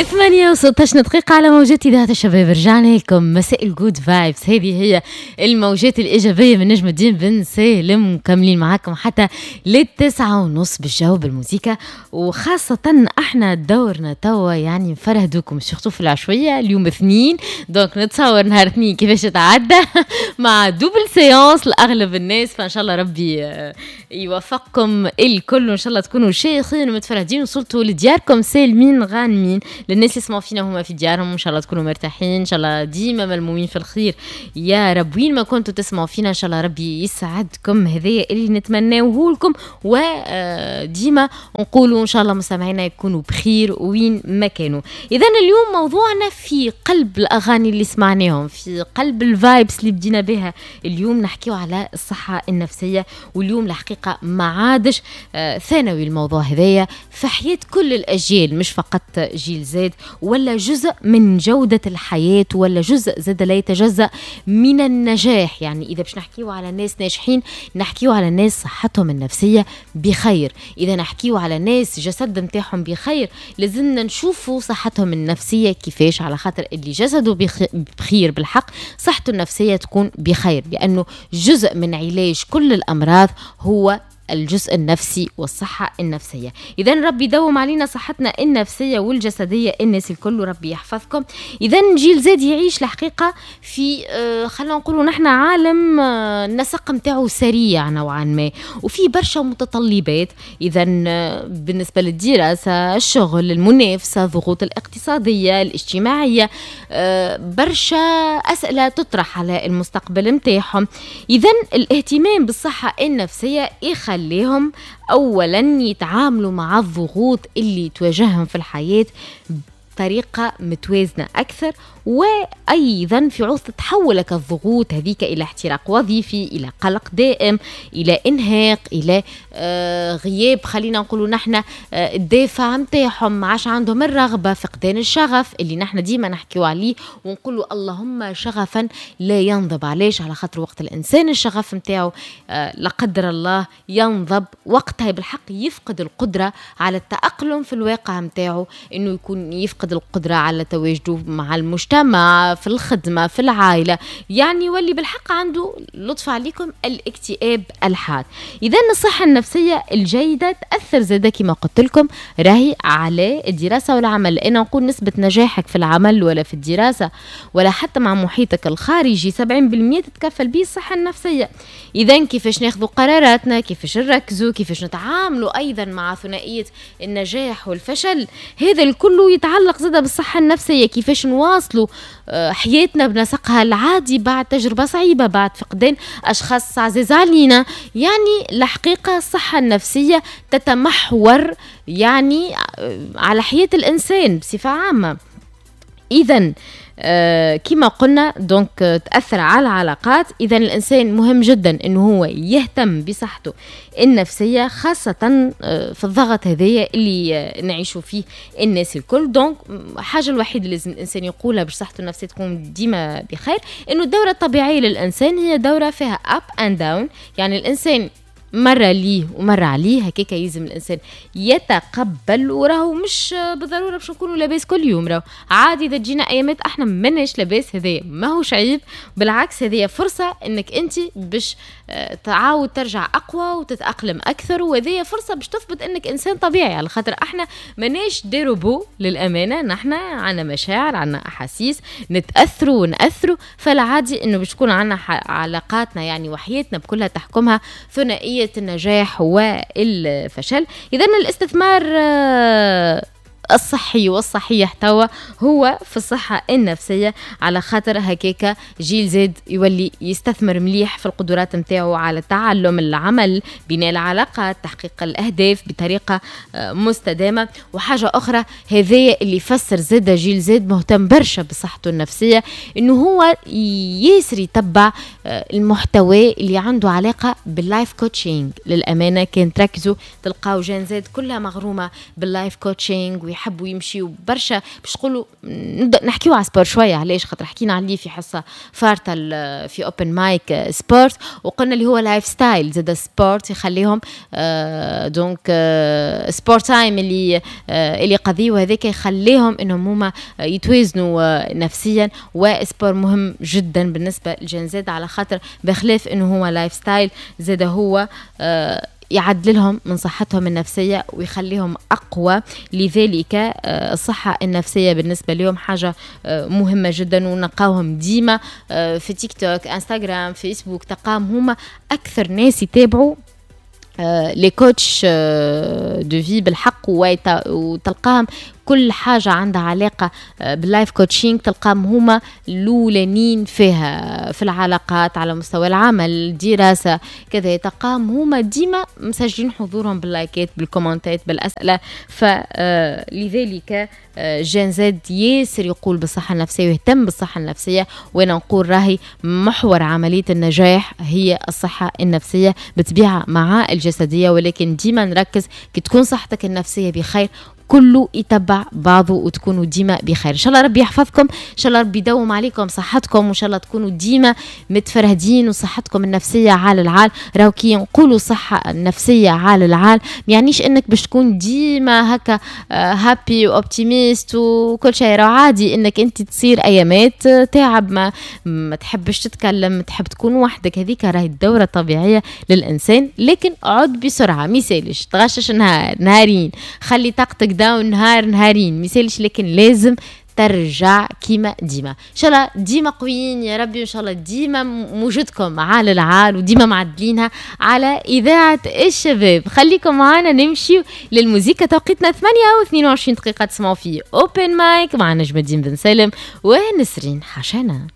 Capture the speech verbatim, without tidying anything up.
ثمانية وستة عشر دقيقة على موجات إذاعة الشباب. رجعنا لكم مساء ال good vibes، هذه هي الموجات الإيجابية من نجم الدين بن سالم، مكملين معاكم حتى للتسعة ونص بالجو بالموسيقى، وخاصة احنا دورنا توا يعني نفرهدوكم surtout في العشوية. اليوم اثنين، donc نتصور نهار اثنين كيفاش تعدى مع double séance لأغلب الناس، فإن شاء الله ربي آه، يوفقكم الكل، وإن شاء الله تكونوا شايخين ومتفرهدين وصلتوا لدياركم سالمين غانمين. للناس اللي يسمعوا فينا هما في ديارهم، ان شاء الله تكونوا مرتاحين، ان شاء الله ديما ملمومين في الخير يا رب. وين ما كنتوا تسمعوا فينا ان شاء الله ربي يسعدكم، هذايا اللي نتمناه لكم، وديما نقولوا ان شاء الله مستمعينا يكونوا بخير وين ما كانوا. اذا اليوم موضوعنا في قلب الاغاني اللي سمعناهم، في قلب ال vibes اللي بدينا بها اليوم، نحكيو على الصحة النفسيه. واليوم الحقيقة ما عادش آه، ثانوي الموضوع هذايا في حياة كل الاجيال، مش فقط جيل زاد، ولا جزء من جودة الحياة، ولا جزء زاد لا يتجزأ من النجاح. يعني إذا باش نحكيو على ناس ناجحين نحكيو على ناس صحتهم النفسية بخير. إذا نحكيو على ناس جسد نتاعهم بخير لازمنا نشوفوا صحتهم النفسية كيفاش، على خاطر اللي جسده بخير بالحق صحته النفسية تكون بخير، لأنه جزء من علاج كل الأمراض هو الجزء النفسي والصحة النفسية. إذا ربي يدوم علينا صحتنا النفسية والجسدية الناس الكل، وربي يحفظكم. إذا جيل زاد يعيش الحقيقة في آه خلينا نقولوا نحن عالم آه النسق نتاعو سريع نوعا ما، وفي برشا متطلبات. إذا آه بالنسبة للدراسة، الشغل، المنافسة، الضغوط الاقتصادية، الاجتماعية، آه برشا أسئلة تطرح على المستقبل نتاعهم. إذا الاهتمام بالصحة النفسية يخلي يخليهم اولا يتعاملوا مع الضغوط اللي تواجههم في الحياة بطريقة متوازنة أكثر، وأيضا في عوض تتحول الضغوط هذيك إلى احتراق وظيفي، إلى قلق دائم، إلى إنهاك، إلى آه غياب خلينا نقولوا نحن آه الدافع نتاعهم، ما عادش عندهم الرغبة، فقدان الشغف اللي نحن ديما نحكيو عليه ونقولوا اللهم شغفا لا ينضب. علاش؟ على خاطر وقت الإنسان الشغف نتاعو آه لا قدر الله ينضب، وقتها بالحق يفقد القدرة على التأقلم في الواقع نتاعو، إنه يكون يفقد القدرة على تواجده مع المجتمع، في الخدمة، في العائلة، يعني يولي بالحق عنده، لطف عليكم، الاكتئاب الحاد. إذا الصحة النفسية الجيدة تأثر زادة كما قلت لكم راهي على الدراسة والعمل، لأن نقول نسبة نجاحك في العمل ولا في الدراسة ولا حتى مع محيطك الخارجي سبعين بالمية تتكفل به الصحة النفسية. إذا كيفاش ناخذ قراراتنا، كيفاش نركزوا، كيفاش نتعاملوا أيضا مع ثنائية النجاح والفشل، هذا الكل يتعلق زادة بالصحة النفسية. كيفاش نواصلوا آه، حياتنا بنسقها العادي بعد تجربة صعيبة، بعد فقدان أشخاص عزيز علينا. يعني الحقيقة الصحة النفسية تتمحور يعني آه، على حياة الإنسان بصفة عامة. إذا آه كما قلنا donc تأثر على العلاقات. إذا الإنسان مهم جدا أنه هو يهتم بصحته النفسية، خاصة آه في الضغط هذايا اللي آه نعيشوا فيه الناس الكل. donc حاجة الوحيدة اللي لازم الإنسان يقولها باش صحته النفسية تكون ديما بخير أنه الدورة الطبيعية للإنسان هي دورة فيها up and down، يعني الإنسان مرة ليه ومرة عليه. هكاك يلزم الإنسان يتقبل، وراهو مش بالضرورة باش نكونوا لاباس كل يوم، راهو عادي إذا تجينا أيامات احنا ماناش لاباس، هذايا ماهوش عيب، بالعكس هذه فرصة انك انت باش آه، تعاود ترجع اقوى وتتاقلم اكثر، وهذه فرصة باش تثبت انك انسان طبيعي، على خاطر احنا ماناش des robots للامانه، نحن عندنا مشاعر، عندنا احاسيس، نتاثروا وناثروا، فالعادي انه باش تكون عندنا علاقاتنا يعني وحياتنا بكلها تحكمها ثنائية النجاح والفشل. اذا الاستثمار آه، الصحي والصحيح توا هو في الصحة النفسية، على خاطر هكاكا جيل زاد يولي يستثمر مليح في القدرات نتاعو على التعلم، العمل، بناء العلاقات، تحقيق الأهداف بطريقة آه، مستدامة. وحاجة أخرى هذايا اللي يفسر زاد جيل زاد مهتم برشا بصحته النفسية، إنه هو ياسر يتبع آه، المحتوى اللي عنده علاقة بال life coaching. للأمانة كان تركزوا تلقاو Gen Z كلها مغرومة بال life coaching. ويحبوا يمشيوا برشا. باش تقولوا نبدا نحكيو على sport شويه، علاش؟ خاطر حكينا عليه في حصة فارطه في open mic sport، وقلنا اللي هو lifestyle زاد sport يخليهم آه donc آه sport time اللي آه اللي قضية، وهذاك يخليهم انهم هما يتوازنوا آه نفسيا. و sport مهم جدا بالنسبة لل Gen Z، على خاطر بخلاف انه هو lifestyle زاد هو آه يعدل لهم من صحتهم النفسية ويخليهم أقوى. لذلك آه، الصحة النفسية بالنسبة لهم حاجة آه، مهمة جدا، ونلقاوهم ديما آه، في تيك توك، انستغرام، فيسبوك، تلقاهم هما أكثر ناس يتابعوا les coachs de vie بالحق، وتلقاهم كل حاجة عندها علاقة آه، بال life coaching تلقاهم هما الأولانيين فيها، في العلاقات، على مستوى العمل، الدراسة، كذا، تلقاهم هما ديما مسجلين حضورهم باللايكات، بالكومنتات، بالأسئلة. فلذلك Gen Z ياسر يقول بالصحة النفسية ويهتم بالصحة النفسية، وأنا نقول راهي محور عملية النجاح هي الصحة النفسية بطبيعة مع الجسدية، ولكن ديما نركز كي تكون صحتك النفسية بخير كله يتبع بعضه وتكونوا ديما بخير. ان شاء الله ربي يحفظكم، ان شاء الله ربي يدوم عليكم صحتكم، وان شاء الله تكونوا ديما متفرهدين وصحتكم النفسية على العال. راهو كي نقولوا صحة النفسية على العال ما يعنيش انك باش تكون ديما هكا happy و optimiste وكل شيء. راهو عادي انك انت تصير ايامات تعب، ما ما تحبش تتكلم، تحب تكون وحدك، هذيك راهي الدورة الطبيعية للانسان. لكن عد بسرعه، ميسالش تغشش نهار نهارين، خلي طاقتك down نهار نهارين، ميسالش، لكن لازم ترجع كيما ديما. ان شاء الله ديما قويين يا ربي، وان شاء الله ديما موجودكم على العال وديما معدلينها على اذاعة الشباب. خليكم معنا نمشي للموزيكا. توقيتنا ثمانية و اثنين وعشرين دقيقه، تسمعوا في open mic مع نجم الدين بن سالم ونسرين حشانه.